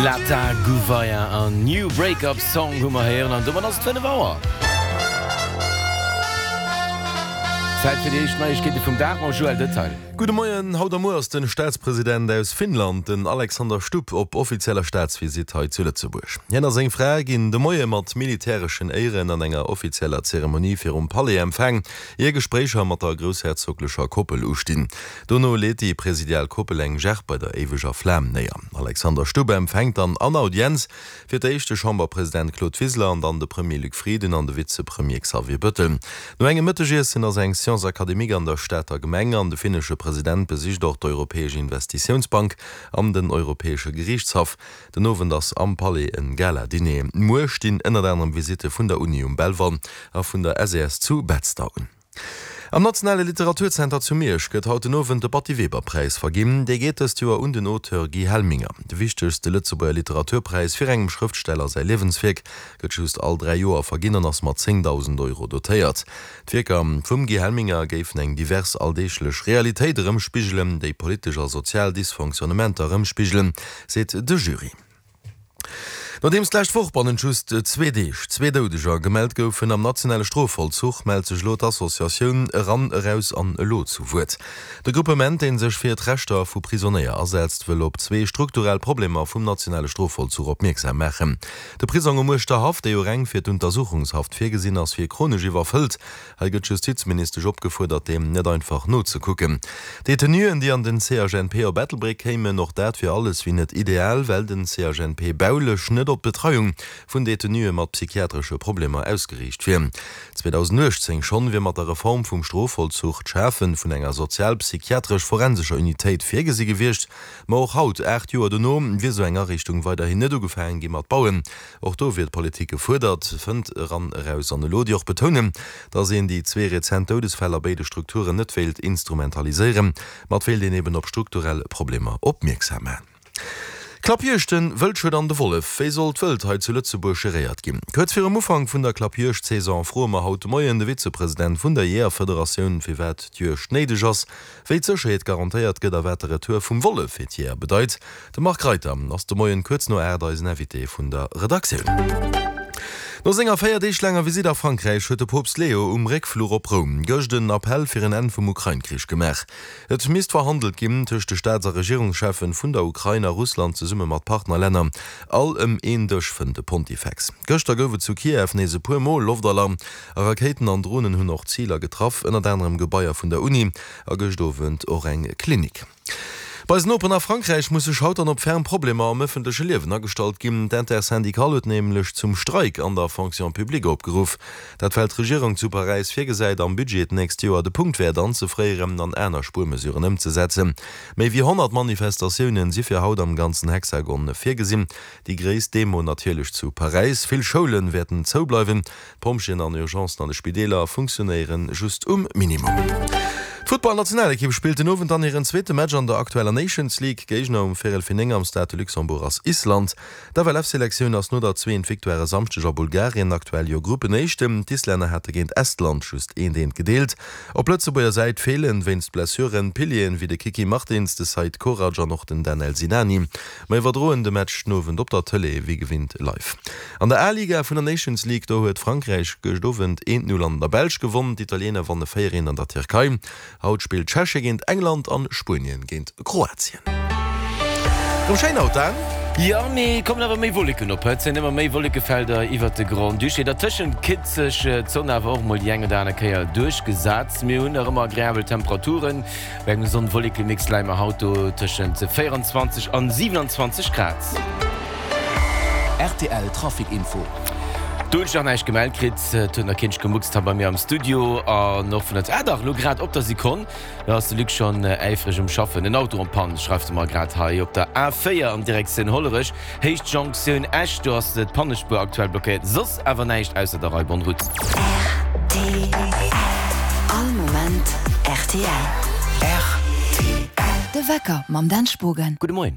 Lata Gouveia an New Break Up Song hu mer héieren an domat ass et 5 Auer. Zäit fir déi éischt Neiegkeete vum Dag mam Joël Detail. Gudde Moien, Haut a muer ass den Staatspresident aus Finnland, den Alexander Stubb, op offizieller Staatsvisitt hei zu Lëtzebuerg. Hien a seng Fra ginn de Moie mat militäreschen Éieren an enger offizieller Zeremonie virum Palais empfaang, ier Gespréicher mat der groussherzoglecher Koppel ustinn. Dono leet déi presidial Koppel eng Gerb bei der éiweger Flam néier. Alexander Stubb empfänkt dann an Audienz fir d'éischt de Chamberpresident Claude Wiseler an dann de Premier Luc Frieden an de Vizepremier Xavier Bettel. No engem Mëttegiessen ass eng Science académique an der Stater Gemeng an de finnesche President besicht och d'Europäesch Investitiounsbank an den Europäesche Geriichtshaff. Den Owend ass am Palais en Gala-Diner. Muer stinn ënnert anerem Visitte vun der Uni um Belval a vun der SES zu Betzder un. Am Nationale Literaturzenter zu Miersch gëtt haut den Owend de Batty-Weber-Präis verginn. Dee geet dëst Joer un den Auteur Guy Helminger. De wichtegste Lëtzebuerger Literaturpräis fir engem Schrëftsteller säi Liewenswierk gëtt just all 3 Joer verginn an ass mat 10.000 Euro dotéiert. D'Wierker vum Guy Helminger géifen eng divers alldeeglech Realitéit erëmspigelen, déi politesch a sozial Dysfonctionnementer erëmspigelen, seet de Jury. Nodeems d'lescht Woch bannent just zwee Deeg zwee Doudeger gemellt goufen am nationale Strofvollzuch, mellt sech elo d'Associatioun Eran, Eraus an Elo zu Wuert. De Gruppement, dee sech fir d'Rechter vu Prisonéier asetzt, wëll op zwee strukturell Problemer vum nationale Strofvollzuch opmierksam maachen. De Prisong um Uerschterhaff, dee jo reng fir d'Untersuchungshaft virgesinn ass, wier chronesch iwwerfëllt. Hei gëtt d'Justizministesch opgefuerdert, deem net einfach nozekucken. D'Detenuen, déi an den CHNP op Ettelbréck kéimen, och dat wier alles wéi net ideal, well den CHNP baulech net op d'Betreiung vun Detenue mat psychiatresche Problemer ausgeriicht wier. 2018 schonn wier mat der Reform vum Strofvollzuch d'Schafe vun enger sozialpsychiatresch-forensescher Unitéit virgesi gewiescht. Ma och haut, 8 Joer dono, wier esou eng Ariichtung weiderhin net ugefaange gi mat bauen. Och do wier d'Politik gefuerdert, fënnt Eran Eraus an Elo, déi och betounen, datt een déi zwee rezent Doudesfäll a béide Strukturen net wéilt instrumentaliséieren, ma et wéilt een eben op strukturell Problemer opmierksam maachen. Klappjuegten, Wëldschued an de Wollef, Wéi soll d'Wëld hei zu Lëtzebuerg geréiert ginn? Kuerz virum Ufank vun der Klappjuegd-Saison froe mer haut de Moien de Vizepresident vun der Jeeërfederatioun, firwat d'Juegd néideg ass, Wéi d'Sécherheet garantéiert gëtt a wat de Retour vum Wollef fir d'Jeeër bedeit, de Marc Reiter ass de Moien kuerz no 8 eisen Invité vun der Redaktioun. No senger 4 Deeg laanger Visitt a Frankräich huet de Poopst Leo um Réckfluch op Roum gëscht en Appell fir en Enn vum Ukrain-Krich gemaach. Et misst verhandelt ginn tëscht de Staats a Regierungscheffen vun der Ukrain a Russland zesumme mat Partnerlänner. All ëm een Dësch, fënnt de Pontifex. Gëschter gouf et zu Kiew nees e puer Mol Loftalarm. A Rakéiten an Dronen hunn och Ziler getraff, ënnert anerem Gebaier vun der Uni a gëscht Owend och eng Klinik. Bei eisen Noperen a Frankräich muss sech haut dann op ferm Problemer am ëffentleche Liewen agestallt ginn. D'Intersyndicale huet nämlech zum Streik an der Fonction publique opgeruff. Dat well d'Regierung zu Paräis virgesäit, am Budget d'nächst Joer de Punktwäert anzefréieren an aner Spuermesuren ëmzesetzen. Méi wéi 100 Manifestatiounen si fir haut am ganzen Hexagon virgesinn. Déi gréisst Demo natierlech zu Paräis. Vill Schoule wäerten zoubleiwen. D'Pompjeeën an Urgencen an de Spideeler funktionéiere just um Minimum. D'Futtballnationalekipp spillt den Owend dann hiren zweete Match an der aktueller Nations League. Géigner um Véierel fir 9 am Stade de Luxembourg ass Island. D'FLF-Selektioun ass no der zweent Victoire e Samschdeg a Bulgarien aktuell jo Gruppenéischten. D'Islänner hate géint Estland just eent eent gedeelt. Op Lëtzebuerger Säit feelen wéinst Blessuren Pilieren wéi de Kiki Martins, de Seid Korac an och den Danel Sinani. Mer iwwerdroen de Match den Owend op der Tëlee wéi gewinnt live. An der A-Liga vun der Nations League, do huet Frankräich gëscht Owend 1, 0 an der Belsch gewonn. D'Italiener wanne 4, 1 an der Tierkei. Haut spillt Tschechie géint England an Spuenien géint Kroatien. Rëm schéin haut, Dan? Jo, mee kommen awer méi Wolleken op. Et sinn ëmmer méi Wollekefelder iwwert de Grand-Duché. Dertëschent kritt sech d'Sonn awer och mol déi eng oder aner Kéier duerchgesat. Mir hunn nach ëmmer agreabel Temperaturen. Bei engem Sonn-Wolleke-Mix leie mer haut do tëschent 24 an 27 Grad. Rtl Trafic Info. Do hunn ech nach näischt gemellt kritt. Et huet nach keen gemuckst hei bei mir am Studio an och vun der. Ah dach, elo grad op der Sekonn, do ass de Luc schonn äifreg um Schaffen. En Auto en panne, schreift e mer grad hei op der A4 an Direktioun Hollerech, Héicht Jonktioun Esch. Do ass d'Pannespuer aktuell blockéiert. Soss awer näischt ausser der Rei. Bonne route. Rtl. All Moment rtl. Rtl. De Wecker mam Dan Spogen. Gudde Moien.